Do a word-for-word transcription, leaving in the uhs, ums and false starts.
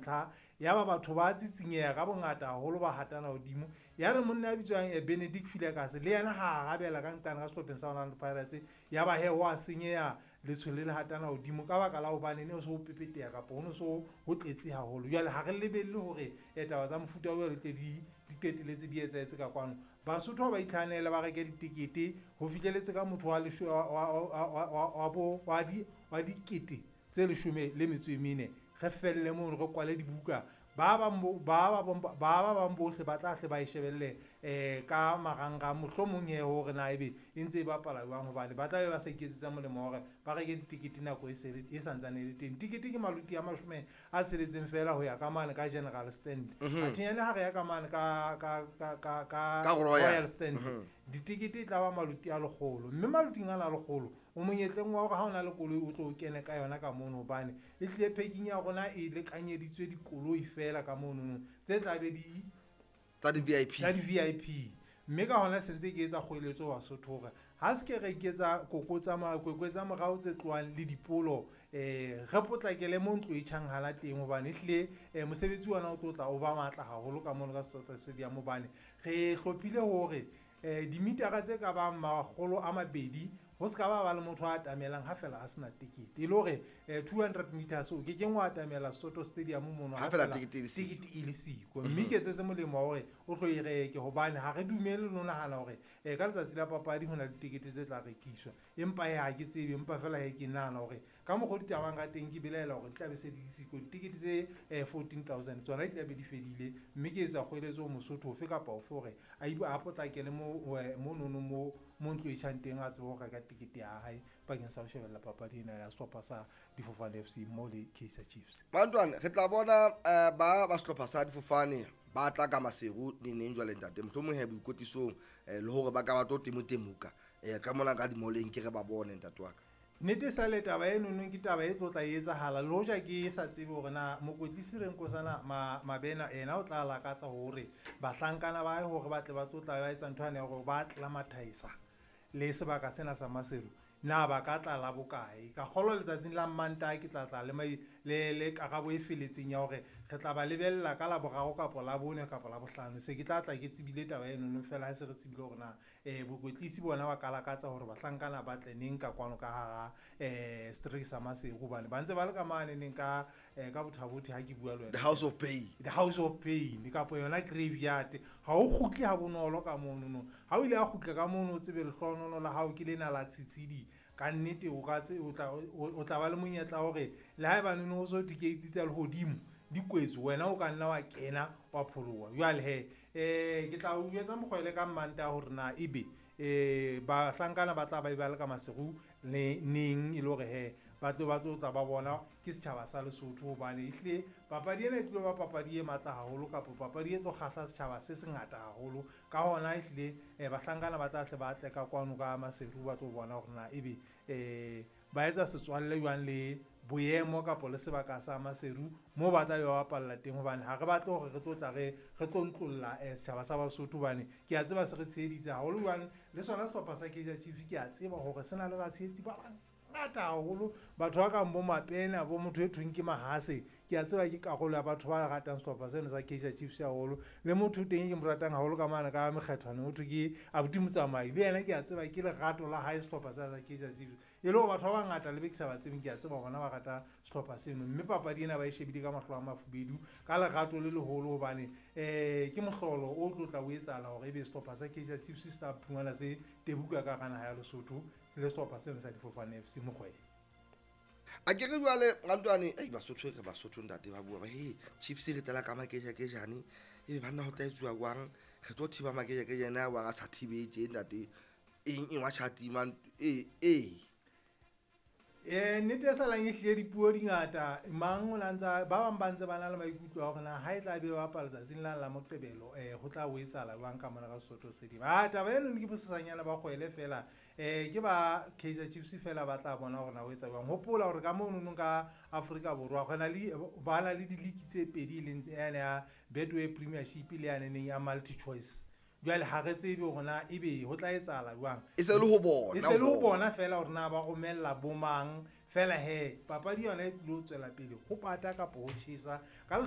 ntlha ya ba batho ba tsitsinyeha ka bongata haholo ba hatana hodimo. Ya re monna ya bitswang eh, Benedict Filekase le yena ha arabela ka nqane ka sehlopheng sa Orlando Pirates, ya ba he wa senyeha letshwele le hatana hodimo ka baka la hobane ne o so o pepeteha kapa ho no so ho tletse haholo. Jwale ha re lebelle hore eh, taba tsa mofuta o di tle di di qetelletse di etsahetse ka kwano. Basotho ha ba itlhahanele ba reke ditekete ho fihlelletse ka motho wa lesho- wa- wa- wa- wa- wa- wa bo- wa di- wa dikete tse leshome le metso e mene. Re felle mono, re kwale dibuka. Ba bang bo- ba ba bang ba ba bang bohle ba tla hle ba e shebelle um ka marangrang, mohlomong he hore na ebe e ntse e bapala jwang, hobane ba tla be ba sa iketsetsa molemo wa hore ba reke ditekete nako e se le- e santsane e le teng. Tekete ke maluti a mashome a tsheletseng fela ho ya ka mane ka general stand. Athinyane ha re ya ka mane ka ka ka ka ka Ka Royal. Royal stand, ditekete e tla ba maluti a lekgolo, mme maluting ana a lekgolo o monyetleng wa hore ha o na le koloi o tlo o kene ka yona ka mono, hobane e hlile parking ya rona e lekanyeditswe dikoloi fela ka monono tse tla be di tsa di-V I P. Tsa di-V I P. Mme ka hona se ntse ke etsa kgoeletso Basotho hore ha se ke re iketsa koko tsa ma- kwekwe tsa morao tse tlohang le dipolo, um re potlakele mo ntlo e tjhang hala teng, hobane ehlile um mosebetsi ona o tlo tla o ba matla haholo ka mono ka Soto Stadium, hobane re hlophile hore um dimitara tse ka bang makgolo a mabedi ho se ka ba ba le motho a atamelang ha fela a sena tekete, e le hore um two hundred meters o ke keng wa atamela Soto Stadium mono ha fela tekete e le siko. Tekete e le siko. Mme ke etsetse molemo wa hore o tlo e reke, hobane ha re dumele le ho nahana hore um ka letsatsi la papadi ho na le ditekete tse tla rekiswa, empa he ha ke tsebe, empa fela he ke nahana hore ka mokgwa o ditabang ka teng, ke belaela hore di tla be se di le siko ditekete tse um fourteen thousand tsona di tla be di fedile. Mme ke etsa kgoeletso ho Mosotho ofe kapa ofe hore a ibo a potlakele mo eh, monono mo mo ntlo e tjhang teng, a tsebe ho reka tekete ya hae bakeng sa ho shebella papadi ena ya sehlopha sa Difofane F C mo le Kaizer Chiefs. Bantwana, re tla bona eh, ba ba sehlopha sa Difofane ba tla ka Maseru neneng jwale, ntate? Mohlomong he boikwetlisong eh, le hore ba ka ba tlo temotemoka um ka mona ka dimoleng, ke re ba bone, ntate wa ka. Nnete sa le taba e nonong ke taba e tlo tla e etsahala, le hoja ke sa tsebe hore na mokwetlisi Renkosana Ma- mabena ena o tla lakatsa hore bahlankana ba hae hore ba tle ba tlo tla ba etsa ntho yane ya hore ba acclimatisa le sebaka sena sa Maseru, na ba ka tla la bokae. Ka kgolwa letsatsing la Mantaha ke tla tla le, mai- le, le karabo e feletseng ya hore re tla ba lebella ka Laboraro kapo Labone kapo Labohlano. Se ke tla tla ke tsebile taba enono fela ha se re tsebile hore na um bokwetlisi bona ba ka lakatsa hore bahlankana ba tle neng ka kwano ka hara um setereke sa Maseru, hobane ba ntse ba le ka mane neng ka um ka Bothabothe ha ke bua le wena. The House of Pain. The House of Pain kapo yona graveyard, ha o kgutle ha bonolo ka monono. Ha o ile a kgutla ka mono, o tsebe lehlohonolo la hao ke lena la tshitshidi ka nnete. O ka tse- o tla o- o tla ba le monyetla hore le haebane o so dikeiti tsa lehodimo di kwetswe, wena o ka nna wa kena wa pholoha. Jwale he um ke tla o jwetsa mokgwele ka Mmantaha hore na ebe um bahlankana ba tla ba ba le ka Maseru le neng, e le hore he ba tlo ba tlo tla ba bona ke setjhaba sa Lesotho, hobane ehlile papadi ena e tlo ba papadi e matla haholo kapo papadi e tlo kgahla setjhaba se sengata haholo. Ka hona ehlile um bahlankana ba tla tle ba tle ka kwano ka Maseru, ba tlo bona hore na ebe um ba etsa setswalle jwang le boemo kapo le sebaka sa Maseru moo ba tla be ba bapalla teng, hobane ha re batle hore re tlo tla re re tlo ntlolla um setjhaba sa Basotho, hobane ke a tseba se re tsheheditse haholo jwang. Le sona sehlopha sa Kaizer Chiefs ke a tseba hore se na le batshehetsi ba bangata haholo, batho ba kang bo Mapena, bo motho e thweng ke Mahase, ke a tseba ke karolo ya batho ba ratang sehlopha seno sa Kaizer Chiefs haholo. Le motho teng e ke mo ratang haholo ka mane ka Mekgethwane, motho ke abuti Motsamai, le yena ke a tseba ke lerato la hae sehlopha sa sa Kaizer Chiefs. E le hore batho ba bangata le be ke sa ba tsebeng, ke a tseba bona ba rata sehlopha seno, mme papadi ena ba e shebile ka mahlo a mafubedu ka lerato le leholo, hobane um ke mohlolo o tlo tla o etsahala hore ebe sehlopha sa Kaizer Chiefs se tla phumana se tebuka ka hara naha ya Lesotho le sehlopha seno sa Difofane F C mokgwele. A ke re jwale rantwane, ei, Basotho, re Basotho, ntate, ba bua ba he Chiefs re tlela ka makejakejane, ebe banna ho tla etsuwa jwang? Re tlo thiba makejakejane a wa a sa thibetse, ntate, eng eng wa tjhatima ee ee. um nnete e salang e hlile dipuo di ngata, mang o na ntsa ba bang ba ntse ba na le maikutlo a hore na ha e tla be ba bapala letsatsing la la Moqebelo um ho tla o etsahala jwang ka mona ka Sesotho Stadium. A taba eno ke bosesanyana ba kgwele fela, um ke ba Kaizer Chiefs fela ba tla bona hore na o etsa jwang. Hopola hore ka monono ka Afrika Borwa go na le ba na le di-league tse pedi, e leng yane ya Betway Premiership le yaneneng ya Multi Choice. Jwale ha re tsebe hore na ebe ho tla etsahala jwang. E se le ho bona. E se le ho bona fela hore na ba romella bomang fela. He papadi yona e tlilo tswela pele ho pata kapo ho tjhesa ka.